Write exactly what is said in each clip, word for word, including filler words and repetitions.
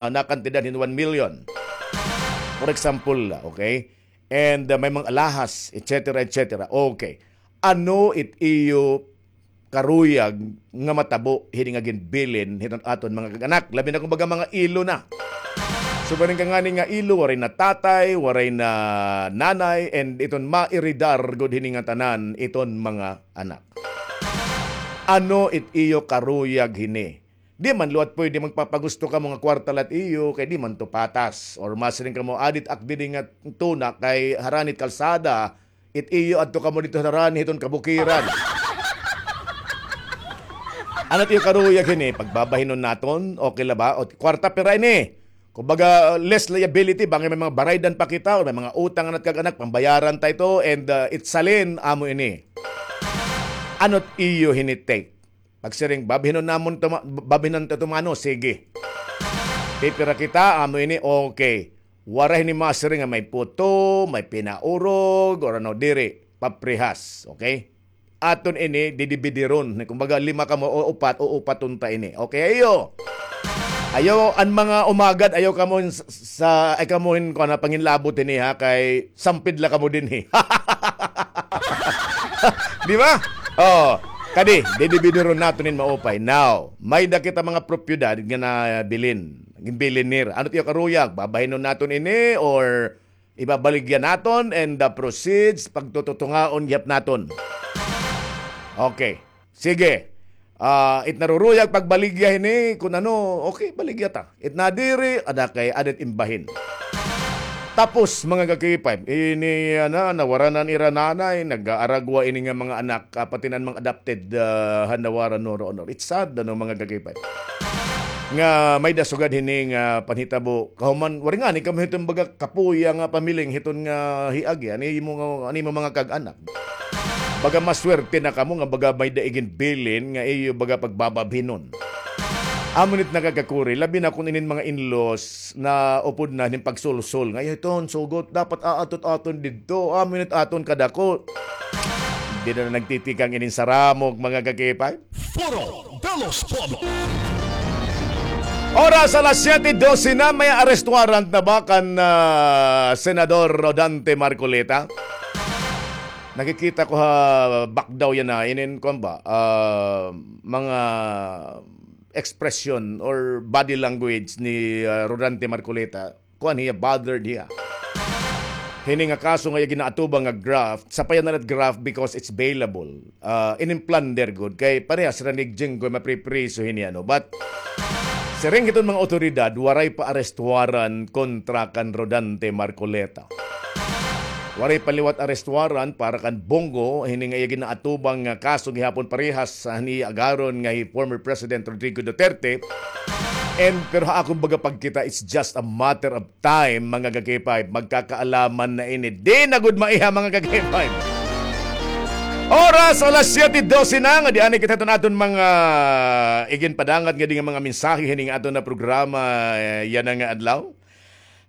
ah, nakantidad hin one million. For example la, okay? And, ah, may mga alahas, et cetera, et cetera. Okay. Ano it iyo karuyag nga matabo hini nga ginbilin hiton aton mga kag-anak? Labi na kon baga mga ilo na. So, barin ka ngani nga ilo, waray na tatay, waray na nanay, and iton mairidar gud hini nga tanan iton mga anak. Ano it iyo karuyag hini? Di man liwat pwede magpapagusto kamo nga kwarta la it iyo, kay di man to patas. Or masiring kamo, adit ak didi nga tuna kay harani it kalsada, it iyo adto kamo didto harani hiton kabukiran. Ano it iyo karuyag hini? Pagbabahinon naton, okay la ba? O, kwarta pira ini? Kumbaga, less liability, bangin may mga baraydan pa kita, or may mga utang nga nagkag-anak, pambayaran ta ito, and, uh, it salin, amo ini. Ano it iyo hini take? Pagsiring, babahinon namon to ma-, babahinon ta ito mano, sige. Pipira kita, amo ini, okay. Waray hini masiring nga may puto, may pinaurog, or ano, diri, paprihas, okay? Aton ini, didibidiron. Kumbaga, lima kamo, o upat, o upaton ta ini. Okay, ayo. Ayaw, an mga umagad, ayaw kamo hin s-, sa, ay kamo hin, kuan, panginlabot hini, ha, kay sampid la kamo dinhi. Di ba? Oh, kadi, didibidiron naton hin maupay. Now, may-ada kita mga propiedad nga nabilin. Ginbilin nira. Ano it iyo karuyag? Babahinon naton ini or ibabaligya naton and the proceeds, pagtututungaon gihap naton. Okay. Sige. Ah, it naruruyag pagbaligya hini, kun ano, okay, baligya ta. It nadiri, ada kay, ada it imbahin. Tapos, mga ka-K five, ini, ana, nawara na an ira nanay, nag-aaragwa ini nga mga anak, ah, pati na an mga adopted, ah, han nawara, no, no, no. It's sad, ano, mga ka-K five. Nga may-ada sugad hini nga panhitabo. Kahuman, waray ngani kamo hiton baga kapuya nga pamiling hiton nga hiagi. An imo nga, an imo mga kag-anak. Baga maswerte na kamo nga baga may-ada iginbilin nga iyo baga pagbababhinon. Amo ini it nakakakuri, labi na kon inin mga in-laws naupod na hin pagsulsol nga, "Ay, iton, sugot, dapat aadto it aton didto. Amo ini it aton kadako." Diri na nagtitikang inin saramok, mga ka-K five. Foro de los Pueblos. Oras alas siyete doce na, may arrest warrant na ba kan, ah, Senador Rodante Marcoleta? Nakikita ko ha background yana, inin, kuan ba, ah, mga expression or body language ni, ah, Rodante Marcoleta. Kuan hiya, bothered hiya. Hini nga kaso nga iya ginaatubang nga graft, sapayan na la it graft because it's bailable. Ah, inin plunder gud, kay parehas hira ni Jinggoy mapripriso hini, ano. But, siring hiton mga otoridad, waray pa arrest warrant kontra kan Rodante Marcoleta. Waray pa liwat arrest warrant para kan Bong Go, hini nga iya ginaatubang nga kaso gihapon parehas han iya agaron nga hi former President Rodrigo Duterte. And, pero ha akon baga pagkita, it's just a matter of time, mga ka-K five, magkakaalaman na ini. Di na gud maiha, mga ka-K five. Oras, alas siyete doce na, nga di anay kita hiton aton mga iginpadangat ngadi nga mga mensahe hini nga aton nga programa, eh, yana nga adlaw.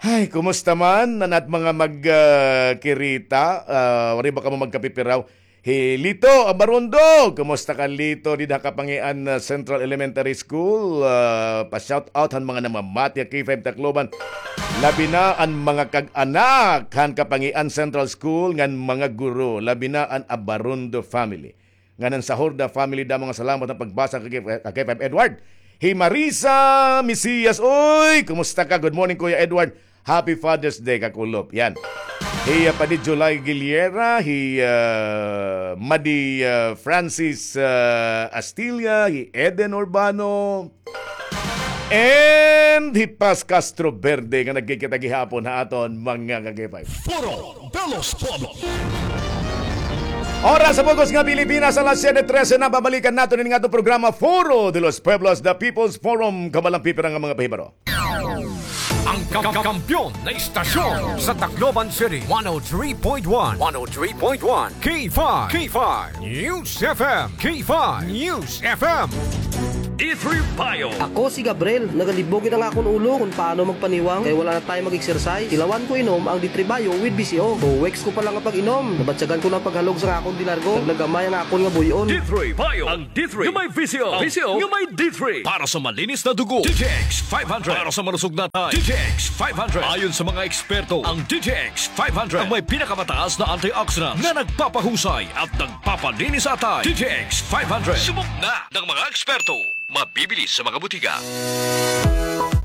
Ay, kumusta man an at mga mag, ah, kirita? Ah, waray ba kamo magkapipiraw? Hi Lito Abarondo, kumusta ka, Lito, dida ha Kapangian, ah, Central Elementary School? Ah, pa-shout out han mga namamati ha K five Tacloban. Labi na an mga kag-anak han Kapangian Central School ngan mga guro, labi na an Abarondo family. Ngan an Sahorda family, damo nga salamat han pagbasa ha K five Edward. Hi Marisa Mesias, oy, kumusta ka? Good morning, Kuya Edward. Happy Father's Day, kakulop. Yan. Hi, ah, Padi July Giliera, hi, ah, Madi, ah, Francis, ah, Astilla, hi Eden Urbano, and hi Paz Castro Verde nga nagkikita gihapon ha aton mga ka-K five. Foro de los Pueblos. Oras sa bug-os nga Pilipinas, alas siyete trese na, babalikan naton ini nga aton programa, Foro de los Pueblos, The People's Forum, kabalang pipira nga mga pahibaro. Ang ka-, kampiyon na istasyon sa Tacloban City, one oh three point one, one oh three point one, K five, K five News F M, K five News F M. D three Bio. Ako si Gabriel. Nagalibog gid an akon ulo kon paano magpaniwang kay wala na time mag-exercise. Tilawan ko inom ang D three Bio with B C O. Two weeks ko pa la nga pag-inom, nabatyagan ko na an paghalog sa akon dinargo. Nagnagamay ang akon nga buy-on. D three Bio. Ang D three nga may B C O. Ang B C O nga may D three. Para sa malinis na dugo, D T X five hundred. Para sa malusog na atay, D T X five hundred. Ayon sa mga eksperto, ang D T X five hundred ang may pinakamataas na antioxidants na nagpapahusay at nagpapalinis sa atay. D T X five hundred. Subok na ng mga eksperto. Mabibili sa mga butika.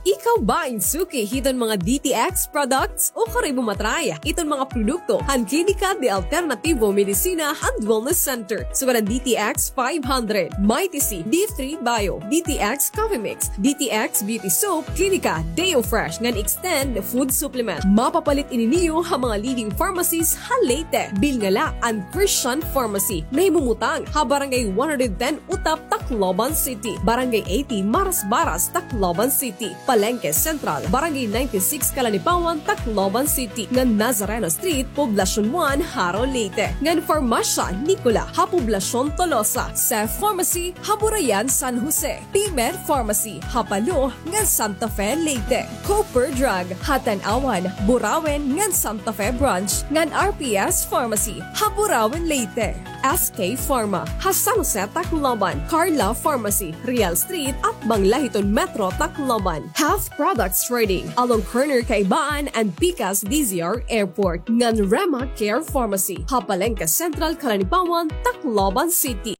Ikaw ba in suki hiton mga D T X products? O kari mo matry iton mga produkto han Klinika de Alternativo Medicina and Wellness Center? Sugad an D T X five hundred, Mighty C, D three Bio, D T X Coffee Mix, D T X Beauty Soap, Klinika Deo Fresh ngan Extend Food Supplement. Mapapalit ini niyo ha mga leading pharmacies ha Leyte. Bilnga la an Christian Pharmacy, nahimumutang ha Barangay one hundred ten Utap, Tacloban City, Barangay eighty Marasbaras, Tacloban City, Palengke Central, Barangay ninety-six Calanipawan, Tacloban City, ngan Nazareno Street, Poblacion one, Jaro, Leyte, ngan Farmasya Nicola ha Poblacion Tolosa, Seth Pharmacy ha Burayan, San Jose, P-Med Pharmacy ha Palo ngan Santa Fe, Leyte, Cooper Drug ha Tanauan, Burauen ngan Santa Fe Branch, ngan R P S Pharmacy ha Burauen, Leyte, S K Pharma ha San Jose, Tacloban, Carla Pharmacy, Real Street, atbang la hiton Metro Tacloban, Health Products Trading along corner Kaibaan and Pikas D Z R Airport, ngan Rema Care Pharmacy ha Palengke Central, Calanipawan, Tacloban City.